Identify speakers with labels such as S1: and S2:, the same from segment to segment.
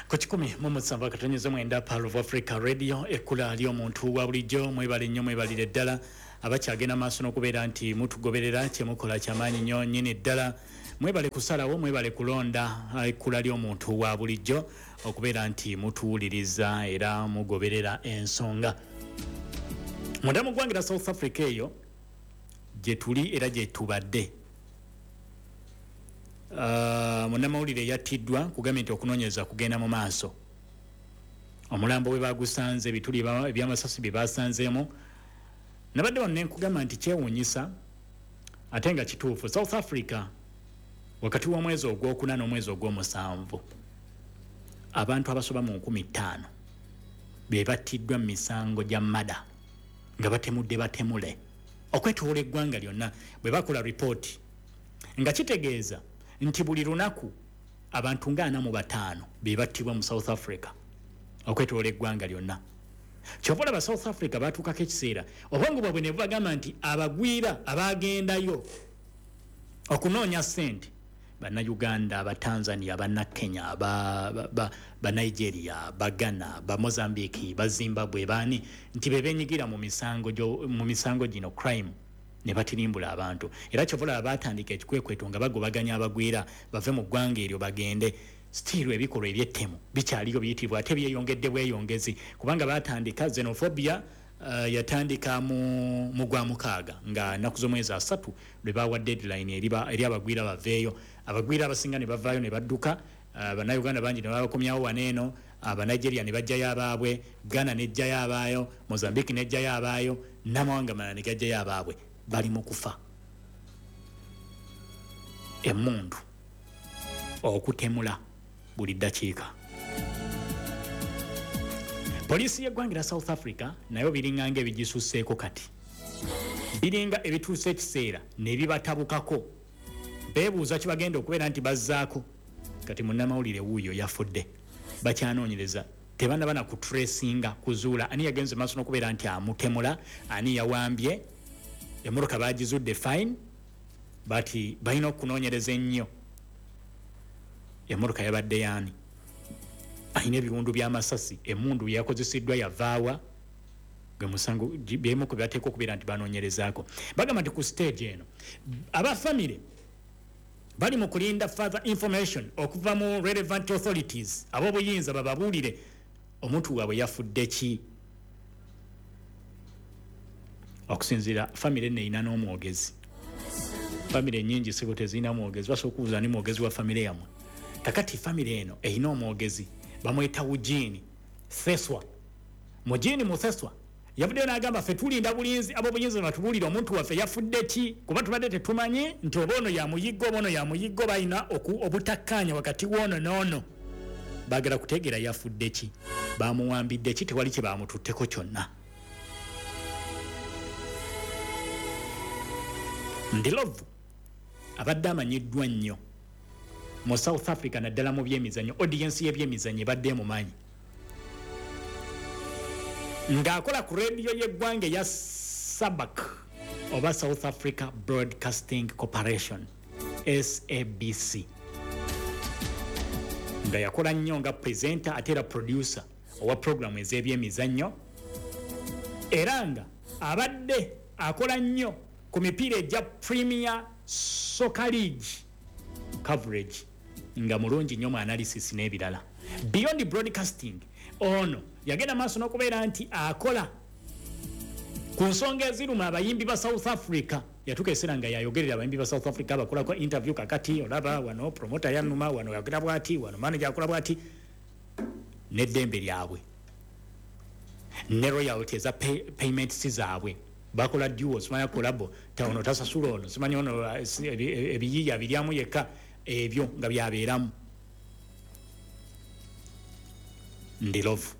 S1: Ku 107.9 Pearl of Africa Radio, ekkula ly'omuntu wa bulijjo. Mwebale nnyo, mwebalire ddala abakyagenda maaso n'okubeera nti mutugoberera. Kyemukola kyamaanyi nnyo nnyini ddala. Mwebale kusalawo, mwebale kulonda ekkula ly'omuntu wa bulijjo okubeera nti mutuwuliriza era mugoberera ensonga. Munda mu ggwanga lya South Africa eyo gye tuli era gye tubadde. Munnamawulire yattiddwa, kugambye nti okunoonyereza kugenda mu maaso. Omulambo bwe bagusanze, ebituli ebyamasasi bye basanzeemu. Nabadde wano nenkugamba nti kyewuunyisa ate nga kituufu, South Africa wakati w'omwezi ogwokuna n'omwezi ogw'omusanvu abantu abasoba mu 5000 be battiddwa mu misango gya murder, nga batemudde batemule okwetoola eggwanga lyonna bwe bakola ripooti, nga kitegeeza nti buli lunaku abantu nga 45 be battibwa mu South Africa okwetoola eggwanga lyonna. Kyova olaba South Africa batuukako ekiseera obwongo bwabwe ne bubagamba nti abagwira abagendayo okunoonya ssente, Bannayuganda, Abatanzania, Bannakenya, Banigeria, Bagana, Bamozambique, Bazimbabwe, baani, nti be benyigira mu misango gino, crime, ne batirimbula abantu. Era kyova olaba batandika ekikwekweto nga bagobaganya abagwira bave mu ggwanga eryo bagende. Still ebikolwa ebyettemu bikyaliyo biyitibwa, ate byeyongedde bweyongezi, kubanga batandika xenophobia. Yatandika mu gwa mukaaga nga nnaku z'omwezi 30 lwe bawa deadline eri abagwira baveeyo. Abagwira abasinga ne bavaayo ne badduka. Bannayuganda bangi ne babakomyawo wano eno, Abanigeria ne bajjayo abaabwe, Ghana nejjayo abaayo, Mozambique nejjayo abaayo, n'amawanga malala ne gajjayo abaabwe. Bali mu kufa, emmundu, okutemula buli ddakiika. Poliisi y'eggwanga lya South Africa nayo biringanga ebigisusseeko kati, biringa ebituusa ekiseera ne bibatabukako, beebuuza kibagenda okubeera nti bazzaako. Kati munnamawulire wuuyo yafudde, bakyanoonyereza, tebannaba na kutracinga kuzuula ani yagenze maaso n'okubeera nti amutemula, ani yawambye emmotoka. Bagizudde, fine, but balina okunoonyereza ennyo emmotoka yabadde yaani, alina ebiwundu by'amasasi, emundu yakozesiddwa yavaawa, gwe musango byemu ku byateeka okubeera nti banoonyerezaako. Bagamba nti ku stage eno aba famire bali mu kulinda further information okuva mu relevant authorities, ab'obuyinza bababuulire omuntu waabwe yafudde ki. Okusinziira famire eno erina n'omwogezi. Famire nyingi sibo tezirina mwogezi, basobola okubuuza ni mwogezi wa famire yammwe. Kakati famire eno erina omwogezi, bamweta Eugene Theswa. Mugini Mutheswa yavuddeyo n'agamba, ffe tulinda bulinzi ab'obuyinza batubuulire omuntu waffe yafudde ki, kuba tubadde tetumanyi nti oba ono yamuyigga oba ono yamuyigga, balina obutakkaanya wakati w'ono n'ono. Baagala kutegeera yafudde ki, bamuwambidde ki, tewali kye bamututteko kyonna. Ndlovu abadde amanyiddwa nnyo mu South Africa, naddala mu byemizannyo. Audience y'ebyemizannyo ebadde emumanyi ng'akola ku rediyo y'eggwanga eya SABC oba South Africa Broadcasting Corporation, SABC, nga yakola nnyo nga presenter ate era producer owa programu ez'ebyemizannyo, era nga abadde akola nnyo ku mipiira egya Premier Soccer League coverage, nga mulungi nnyo mu analysis n'ebirala. Beyond broadcasting, ono yagenda maaso n'okubeera nti akola ku nsonga eziruma abayimbi ba South Africa. Yatuuka ekiseera nga yayogerera abayimbi ba South Africa, abakolako interview. Kakati olaba wano promoter yanuma, wano yogera bwati, wano manager akola bwati, n'eddembe lyabwe ne royalty eza payments zaabwe. Bakola duo, simanya collabo, ono tasasula ono, simanya ono ebiyiiya biryamu yekka, ebyo nga byabeeramu. Ndlovu,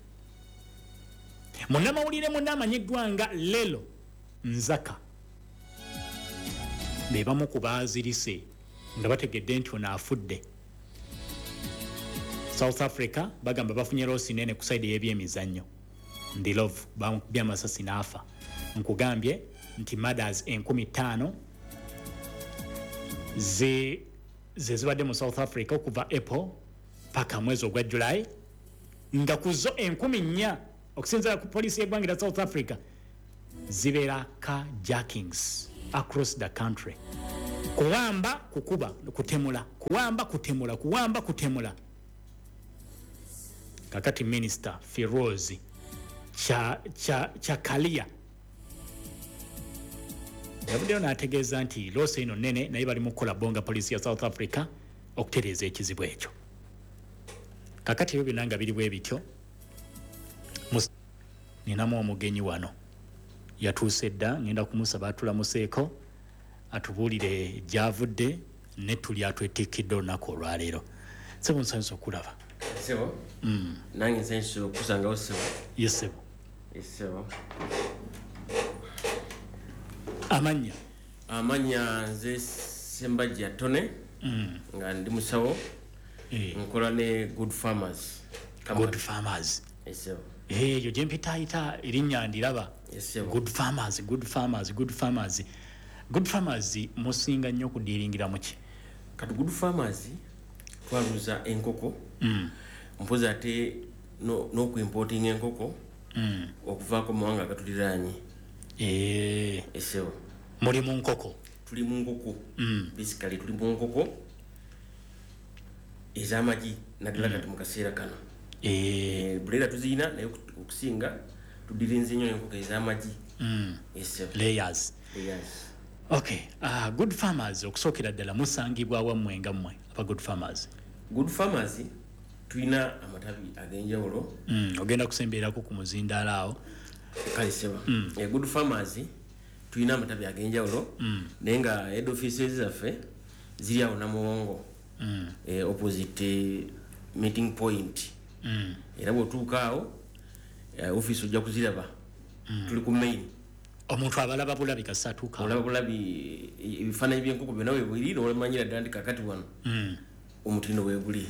S1: munnamawulire munne amanyiddwa nga Lelo Nzaka, be bamu ku baazirise nga bategedde nti ono afudde. South Africa bagamba bafunye loss nene ku side y'ebyemizannyo. Ndlovu bamukubye amasasi n'afa. Nkugambye nti murders 5000 ze zibadde mu South Africa okuva April paka mwezi ogwa July. Nga ku zo 4,000 okusinziira ku poliisi y'eggwanga lya South Africa zibeera car jackings across the country. Kuwamba, kukuba, kutemula, kuwamba, kutemula, kuwamba, kutemula. Kakati Minister Firoz Chakalia yavuddeyo n'ategeeza nti loss eno nnene, naye bali mu kukola bonga poliisi ya South Africa okutereeza ekizibu ekyo. Kakati ebyo byonna nga biri bwe bityo, ninamu omugenyi wano yatuuse dda, ngenda kumusaba atulamuseeko atubuulire gy'avudde ne tuli atwetikidde olunaku olwaleero. Sebo, nsanyusa okulaba.
S2: Sebo, nange nsanyusa okusangawo, sebo.
S1: Ye sebo.
S2: Sebo.
S1: Amannya?
S2: Amanya nze Sembajja Tone, nga ndi musawo, nkola ne Good Farmers.
S1: Good Farmers.
S2: Sebo.
S1: Eyo gye mpitaayita erinnya ndiraba.
S2: Sebo.
S1: Good Farmers, Good Farmers, Good Farmers, Good Farmers, musinga nnyo okudiiringira muki?
S2: Kati Good Farmers twaluza enkoko, mpozi ate n'okuimportinga enkoko okuvaako mu mawanga agatuliraanye. Esebo.
S1: Muli mu nkoko?
S2: Tuli mu nkoko. Basically tuli mu nkoko ez'amagi, naddala kati mu kaseera kano. Broiler tuziyina, naye okusinga tudirinze nnyo enkoko ez'amagi, esebo.
S1: Layers.
S2: Layers.
S1: Okay, Good Farmers, okusookera ddala musangibwa wammwe nga mmwe aba Good Farmers?
S2: Good Farmers tulina amatabi ag'enjawulo.
S1: Ogenda kusemberako ku muzindaalo awo.
S2: Kale seba. Good Farmers tulina amatabi ag'enjawulo, naye nga head offices zaffe ziri awo Namuwongo, opposite meeting point. Era bw'otuuka awo, office ojja kuziraba, tuli ku main.
S1: Omuntu abalaba bulabi kasita atuuka?
S2: Olaba bulabi ebifaananyi by'enkoko byonna we biri, n'olumanyira ddala nti kakati wano omutindo bwe guli.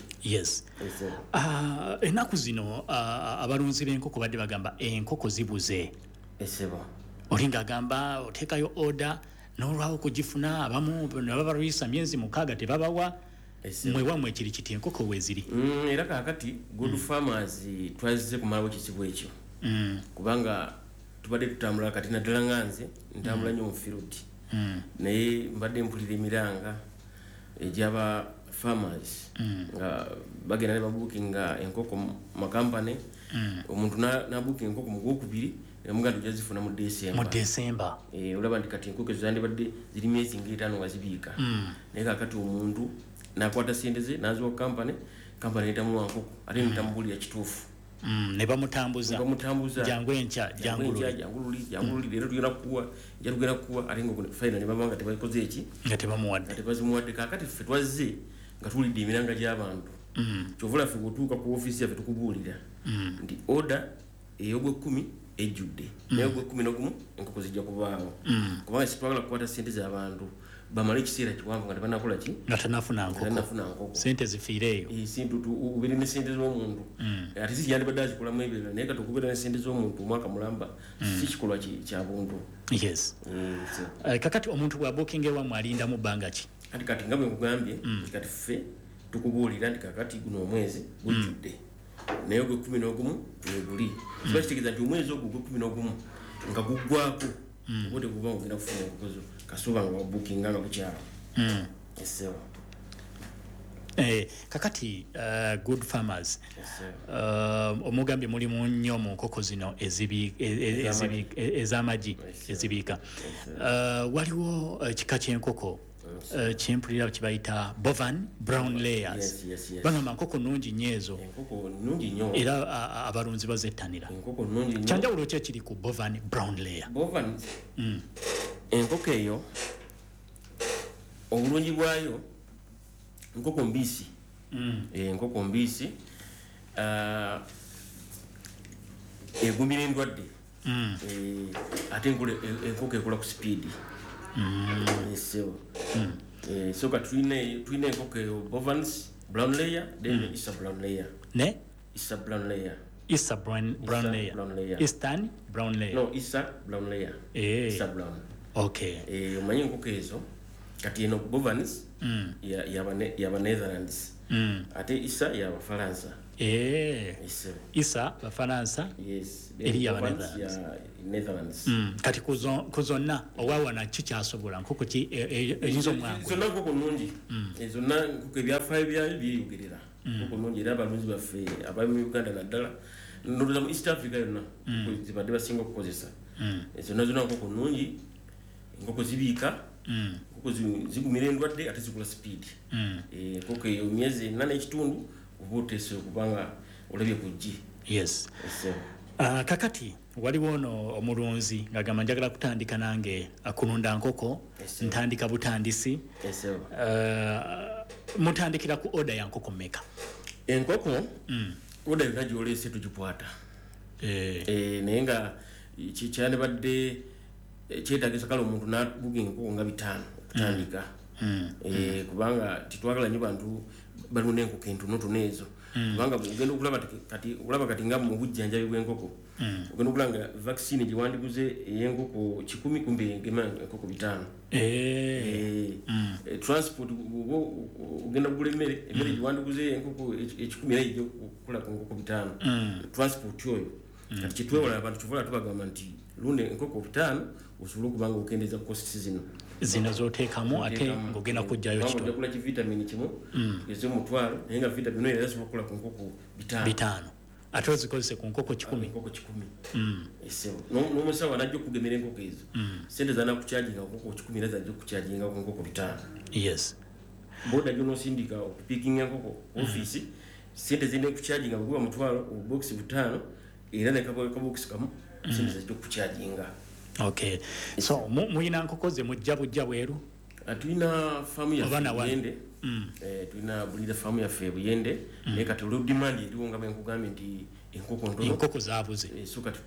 S1: Ennaku zino abalunzi b'enkoko badde bagamba enkoko zibuze.
S2: Esebo.
S1: Oli ng'agamba oteekayo order n'olwawo okugifuna, abamu ne babalwisa myezi 6 tebabawa.
S2: Esebo.
S1: Mwe wammwe kiri kiti, enkoko weeziri?
S2: Era kakati Good Farmers twazze kumalawo kizibu ekyo, kubanga tubadde tutambula kati, naddala nga nze ntambula nnyo mu field, naye mbadde mpulira emiranga egy'aba farmers nga bagenda ne babuukinga enkoko mu makampani. Omuntu nabuukinga enkoko mu gwokubiri, nemuga nti ojja zifuna mu
S1: Mu
S2: December.
S1: December.
S2: Olaba nti kati enkoko ezo zandibadde ziri myezi nga 5 nga zibiika, naye kakati omuntu nakwata sente ze naziwa kampani, kampani netamuwa nkoko, ate netamubuulira kituufu.
S1: Ne bamutambuza.
S2: Bamutambuza.
S1: Jangu enkya,
S2: jangu enkya,
S1: jangu luli.
S2: Jangu luli, jangu luli, leero tugenda kukuwa, nja tugenda kukuwa, ate nga final ne baba nga tebakoze eki?
S1: Nga tebamuwadde.
S2: Nga tebazimuwadde. Kakati ffe twazze nga tuwulidde emiranga gy'abantu. Kyova olaba ffe bw'otuuka ku ofiisi yaffe tukubuulira nti order ey'ogwekumi ejjudde, naye ogwekumi n'ogumu enkoko zijja kubaawo, kubanga sitwagala kukwata sente z'abantu bamale ekiseera kiwanvu nga tebanakola ki?
S1: Nga tanafuna nkoko.
S2: Tanafuna nkoko.
S1: Sente zifiire eyo.
S2: Sente ubeere ne sente z'omuntu, ate si yandibadde azikolamu ebirala, naye kati okubeera ne sente z'omuntu omwaka mulamba si kikolwa kya buntu.
S1: Kakati omuntu bw'abuukinga ewammwe alindamu bbanga ki?
S2: Kati kati nga bwe nkugambye nti kati ffe tukubuulira nti kakati guno omwezi gujjudde, naye ogwekumi n'ogumu weguli. Kiba kitegeeza nti omwezi ogwo ogwekumi n'ogumu nga guggwako, oba teguba nga ogenda kufuna enkoko zo kasuuba nga wabuukinga nga bukyalo, esebo.
S1: Kakati Good Farmers,
S2: Esebo.
S1: Omugambye mulimu nnyo mu nkoko zino ez'amagi ezibiika. Waliwo ekika ky'enkoko kyempulira kibayita Bovan Brown Layers.
S2: Yes.
S1: Bagamba nkoko nnungi nnyo ezo.
S2: Enkoko nnungi nnyo.
S1: Era abalunzi bazettanira.
S2: Enkoko nnungi nnyo.
S1: Kyanjawulo ki ekiri ku Bovan Brown Layer?
S2: Bovan, enkoko eyo obulungi bwayo nkoko mbisi. Enkoko mbisi, egumira endwadde. Ate enkoko ekola ku speed. Sebo. So kati tulina enkoko eyo Bovans Brown Layer, then Isa Brown Layer.
S1: Ne?
S2: Isa Brown Layer.
S1: Isa Brown
S2: Isa
S1: Layer.
S2: Brown Layer.
S1: Eastern Brown Layer.
S2: No, Isa Brown Layer. Isa Brown. Omanyi enkoko ezo kati eno Bovans yaba Netherlands. Ate Isa y'Abafalansa.
S1: Isa Bafalansa,
S2: yes,
S1: eri
S2: Netherlands.
S1: Kati ku zonna owawana kikyasobola nkoko ki eyinza omwangu?
S2: Zonna nkoko nnungi. Zonna nkoko ebyafaayo byayo byeyogerera. Nkoko nnungi era abalunzi baffe abali mu Uganda naddala ndowooza mu East Africa yonna zibadde basinga okukozesa. Zonna zonna nkoko nnungi, enkoko zibiika, enkoko zigumira endwadde ate zikula speed. Enkoko eyo myezi 4.5 oba oteese okubanga olabye ku ggi.
S1: Yes. Kakati waliwo ono omulunzi ng'agamba njagala kutandika nange kulunda nkoko, ntandika butandisi. Mutandikira ku order ya nkoko mmeka?
S2: Enkoko order yonna gy'oleese tugikwata. Naye nga kyandibadde kyetaagisa kale omuntu n'aguga enkoko nga 5 okutandika. Kubanga tetwagala nnyo bantu balunda enkoko entonotono ezo. Kubanga ogenda okulaba kati olaba kati nga mu bujjanjabi bw'enkoko ogenda okulaba nga vaccine gye wandiguze ey'enkoko 100 kumbe egema enkoko 5. Transport ogenda kugula emmere gye wandiguze enkoko 100 era ejja okukola ku nkoko 5. Transport oyo kati kyetwewala abantu kyova tubagamba nti lunda enkoko 5 osobola okuba nga okendeeza costs zino
S1: zino zoteekamu ate ng'ogenda kujjayo
S2: kitono. Ojja kugula ki-vitamin kimu tugeze 1000 naye nga vitamin oyo era esobola okukola ku nkoko
S1: 5 ate ozikozese ku nkoko 100.
S2: Enkoko 100. N'omusawo anajja okugemera enkoko ezo sente zanakukyajinga ku nkoko 100 era zajja okukyajinga ku nkoko 5.
S1: Yes.
S2: Boda gy'onoosindika okupiikinga enkoko ku ofiisi sente zirina okukyajinga bwe guba 1000 obubokisi 5 era ne kabokisi kamu sente zajja okukyajinga.
S1: Okay. So muyina nkoko ze mujja bujja bweru?
S2: Tulina faamu yaffe Buyende. Tulina bulira faamu yaffe Buyende. Naye kati olwo demand eriwo nga bwe nkugambye nti enkoko ntono.
S1: Enkoko zaabuze.
S2: So kati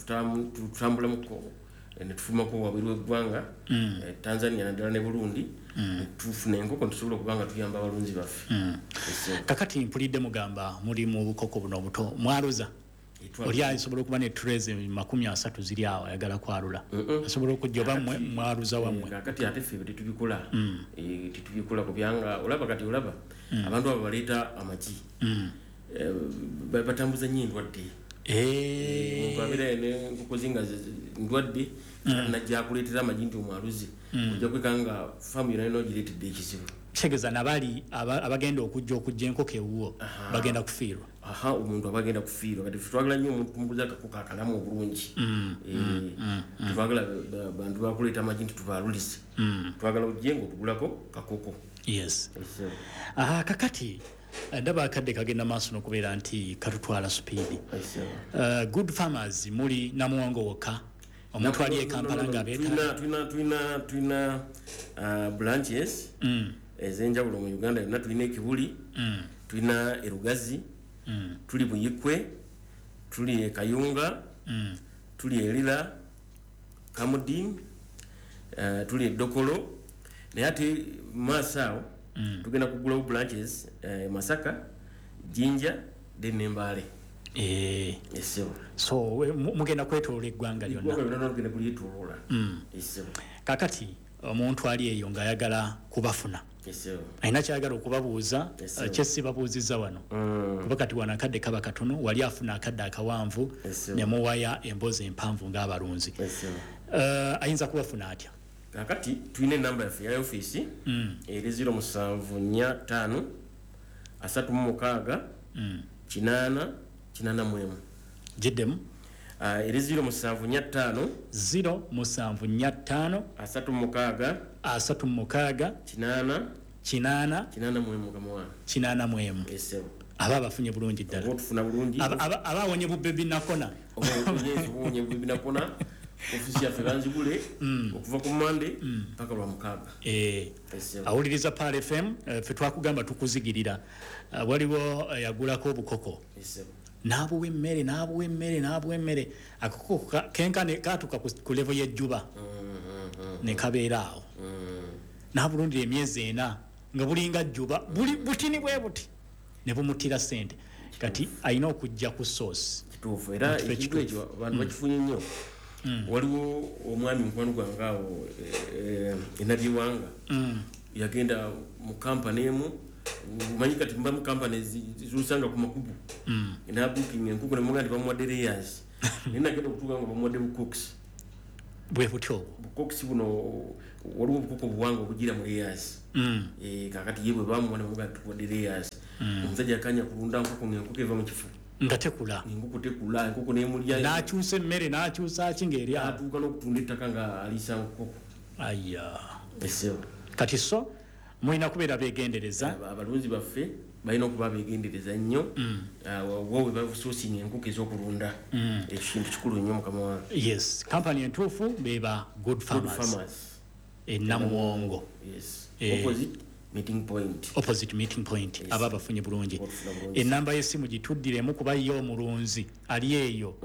S2: tutambulamuko ne tufulumako wabweru w'eggwanga, Tanzania naddala ne Burundi, tufuna enkoko tusobola okuba nga tuyamba abalunzi baffe.
S1: Kakati mpulidde mugamba muli mu bukoko buno obuto mwaluza. Oli asobola okuba ne trays 30 ziri awo ayagala kwalula. Asobola okujja oba mwaluza wammwe.
S2: Kakati ate ffe tetubikola. Tetubikola kubyanga olaba kati olaba abantu abo baleeta amagi. Batambuza nnyo endwadde. Omuntu abeera n'enkoko ze nga ndwadde najja akuleetera amagi nti omwaluze. Ojja kwekanga faamu yonna yonna ogireetedde ekizibu.
S1: Kitegeeza nabali abagenda okujja enkoko ewuwo bagenda kufiirwa.
S2: Omuntu aba agenda kufiirwa. Kati twagala nnyo omuntu kumuguza akakoko akalamu obulungi. Tetwagala bantu bakuleeta amagi nti tubaalulize. Twagala ojje ng'otugulako kakoko.
S1: Yes. Kakati ndaba akadde kagenda maaso n'okubeera nti katutwala supiidi. Good Farmers muli Namuwongo wokka? Omuntu ali e Kampala nga abeetaaga?
S2: Tulina branches ez'enjawulo mu Uganda yonna. Tulina Ekibuli, tulina Erugazi, tuli Buyikwe, tuli e Kayunga, tuli e Lira, Kamudin, tuli e Dokolo. Naye ate maaso awo tugenda kugulawo branches Masaka, Jinja, then ne Mbale.
S1: So mugenda kwetoloola eggwanga lyonna?
S2: Eggwanga lyonna tugenda kulyetoloola.
S1: Kakati omuntu ali eyo ng'ayagala kubafuna, alina kyayagala okubabuuza kyesibabuuzizza wano, kuba kati wano akadde kaba katono, wali afuna akadde akawanvu ne muwaya emboozi empanvu ng'abalunzi. Ayinza kubafuna atya?
S2: Kakati tulina enamba yaffe eya ofiisi eri 0745 36 8 81.
S1: Giddemu.
S2: Eri 0745
S1: 0745
S2: 36
S1: 36
S2: 8
S1: 8
S2: 81
S1: 81. Aba abafunye bulungi ddala.
S2: Otufuna bulungi.
S1: Aba awonye bubebi nakona.
S2: Owonye bubebi nakona. Ofisi yaffe banzigule okuva ku Monday mpaka lwa mukaaga.
S1: Awuliriza Pearl FM, ffe twakugamba tukuzigirira. Waliwo yagulako obukoko. N'abuwa emmere, n'abuwa emmere, n'abuwa emmere. Akakoko kenkane katuuka ku level y'ejjuba. Ne kabeera awo. N'abulundira emyezi 4 nga bulinga jjuba, buli butini bwe buti. Ne bumutira ssente. Kati alina okujja ku source.
S2: Kituufu era ekintu ekyo abantu bakifunye nnyo. Waliwo omwami mukwano gwange awo enabiwanga yagenda mu kampani emu Manyi kati mba mu company zosanga ku makubu na booking enkoko ne mugandi bamuwadde layers, naye nagenda okutuuka nga bamuwadde bucocks.
S1: Bwe butyo.
S2: Bucocks buno, waliwo obukoko obuwanvu obugira mu layers. Kakati ye bwe bamuwa ne bamugamba tukuwadde layers, omusajja akanya kulunda nkoko ng'enkoko eva mu kifo
S1: nga tekula.
S2: Enkoko tekula, enkoko nemulya.
S1: N'akyusa emmere, n'akyusa ki ng'eri awo.
S2: Atuuka n'okutunda ettaka nga aliisa nkoko.
S1: Aya.
S2: Esebo.
S1: Kati so mulina kubeera beegendereza.
S2: Abalunzi baffe balina okuba beegendereza nnyo wa we basourcinga enkoko ez'okulunda. Ekyo kintu kikulu nnyo, mukama wange.
S1: Yes, kampani entuufu beba Good
S2: Good
S1: Farmers.
S2: Farmers.
S1: Enamuwongo.
S2: Yes, opposite Meeting Point.
S1: Opposite Meeting Point.
S2: Yes.
S1: Aba bafunye bulungi.
S2: Ofuna bulungi.
S1: Enamba y'essimu gituddiremu kuba ye omulunzi ali eyo.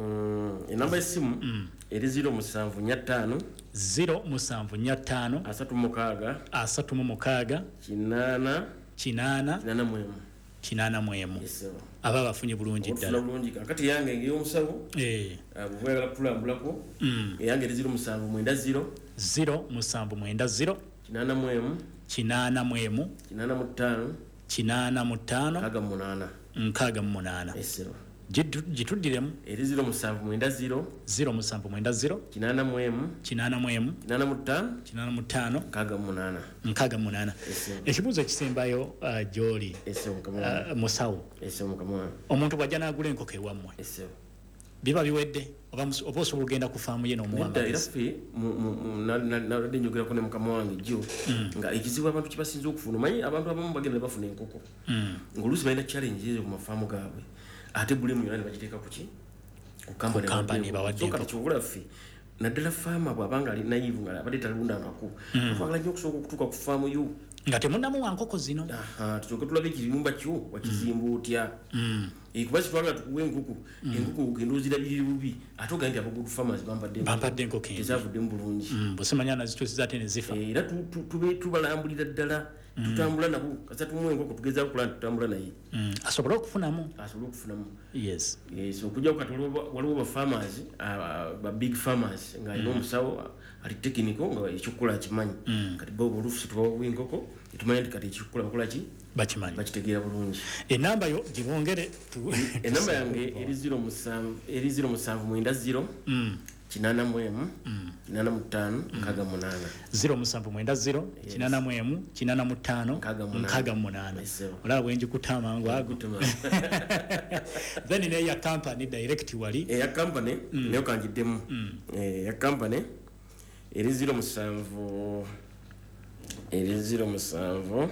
S2: Enamba y'essimu eri 0745
S1: 0745
S2: 36
S1: 36
S2: 8
S1: 8
S2: 81.
S1: 81.
S2: Yes, sir.
S1: Aba bafunye bulungi
S2: Ofuna
S1: ddala.
S2: bulungi. Kakati yange ng'ey'omusawo, bw'oba oyagala kutulambulako, eyange eri 0790
S1: 0790
S2: 81
S1: 81
S2: 85
S1: 85
S2: 68.
S1: 68.
S2: Yes, sir.
S1: Gituddiremu.
S2: Eri 0790
S1: 0790
S2: 81
S1: 81
S2: 85
S1: 85
S2: 68.
S1: 68.
S2: Yes, sir.
S1: Ekibuuzo ekisembayo gy'oli,
S2: Yes, sir, mukama wange.
S1: Musawo,
S2: Yes, sir, mukama wange.
S1: omuntu bw'ajja n'agula enkoko ewammwe,
S2: Yes, sir.
S1: biba biwedde oba oba osobola ogenda ku faamu ye n'omuwa
S2: Nedda, era
S1: amagezi?
S2: ffe nabadde njogerako ne mukama wange jjo nga ekizibu abantu kyebasinza okufuna, omanyi abantu abamu bagenda ne bafuna enkoko ng'oluusi balina challenge ezo ku mafaamu gaabwe, ate bulemu yonna ne bagiteeka ku ki? Ku
S1: Ku company ebawadde
S2: So kati
S1: enkoko.
S2: kyobula ffe naddala faama bw'abanga ali naive nga abadde talundangako, twagala nnyo okusooka okutuuka ku faamu yo
S1: nga temunnamuwa nkoko zino.
S2: Aha, tusooke tulabe ekiyumba kyo wakizimba otya. Kuba sitwagala tukuwa enkoko, enkoko ogenda ozirabirira bubi, ate ogambe nti aba Good Farmers bampadde enkoko.
S1: Bampadde enkoko embi.
S2: Tezavuddemu bulungi.
S1: Bwe simanya nazituusiza ate ne zifa.
S2: Era tubalambulira ddala, tutambula nabo kasita tumuwa enkoko, tugezaako kulaba nti tutambula naye
S1: asobole okufunamu.
S2: Asobole okufunamu.
S1: Yes.
S2: Yes, okujjako kati waliwo ba farmers, ba big farmers ng'alina omusawo ali technical nga ekyokukola akimanyi. Kati bo oluusi tubawa enkoko netumanya nti kati ekyokukola bakola ki,
S1: bakimanyi.
S2: Bakitegeera bulungi.
S1: Enamba yo gibongere.
S2: Enamba yange eri 07, eri 0790 81 85 68.
S1: 0790 81 85
S2: 68.
S1: 68.
S2: Yes, sir.
S1: Olaba bwenjikuta amangu ago.
S2: Gutuma.
S1: Then neya company direct wali?
S2: Eya company nayo kangiddemu. Eya company eri 07, eri 0745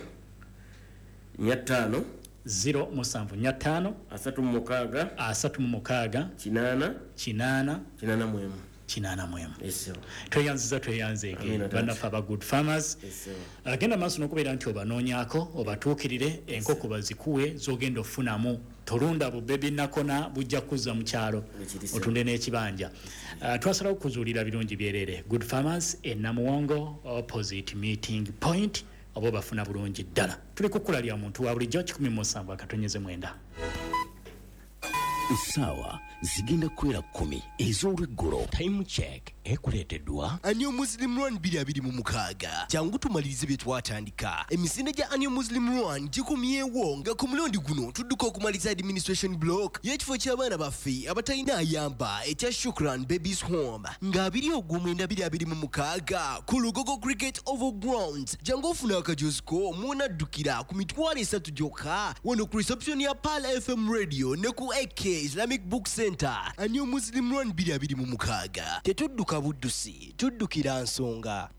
S1: 0745
S2: 36
S1: 36
S2: 8
S1: 8
S2: 81.
S1: 81.
S2: Yes, sir.
S1: Tweyanziza, tweyanzeege.
S2: Amina, taata.
S1: Bannaffe aba Good Farmers,
S2: Yes, sir.
S1: agenda maaso n'okubeera nti obanoonyaako, obatuukirire, enkoko bazikuwe z'ogenda ofunamu. Tolunda bubebi nakona, bujja kuzza mu kyalo
S2: Ekiri, sir.
S1: otunde n'ekibanja. Twasalawo kuzuulira birungi byerere. Good Farmers e Namuwongo, opposite Meeting Point, oba obafuna bulungi ddala. Tuli kukula lya muntu wa bulijjo 17.9.
S3: Essaawa zigenda kuwera 10 ez'olweggulo.
S4: Time Check ekuleeteddwa
S5: Annual Muslim Run 2026. Jangu tumalirize bye twatandika. Emisinde gya Annual Muslim Run gikomyewo nga ku mulundi guno tudduka okumaliza administration block y'ekifo ky'abaana baffe abatalina ayamba ekya Shukran Babies Home nga 29 2026 ku Lugogo Cricket Oval Grounds. Jangu ofuna akajozi ko munaddukira ku 30,000 gyokka wano ku reception ya Pearl FM Radio ne ku AK Islamic Book Center. Annual Muslim Run 2026, tetudduka buddusi, tuddukira nsonga.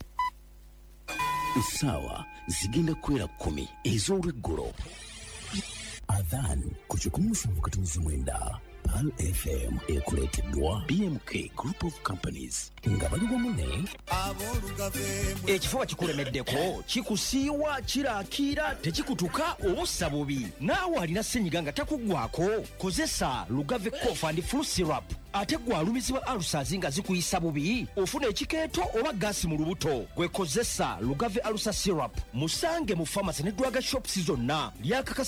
S3: Essaawa zigenda kuwera 10 ez'olweggulo. Adhan ku 107.9 Pearl FM ekuleeteddwa BMK Group of Companies nga bali wamu ne
S4: Ekifuba kikulemeddeko, kikusiiwa, kirakiira, tekikutuka oba ossa bubi. Naawe alina senyiga nga takuggwako, kozesa Lugave Cough and Flu Syrup. Ate gwe alumizibwa ulcers nga zikuyisa bubi, ofuna ekikeeto oba gaasi mu lubuto, gwe kozesa Lugave Ulcer Syrup. Musange mu famasi ne drug shops zonna lyakakasa.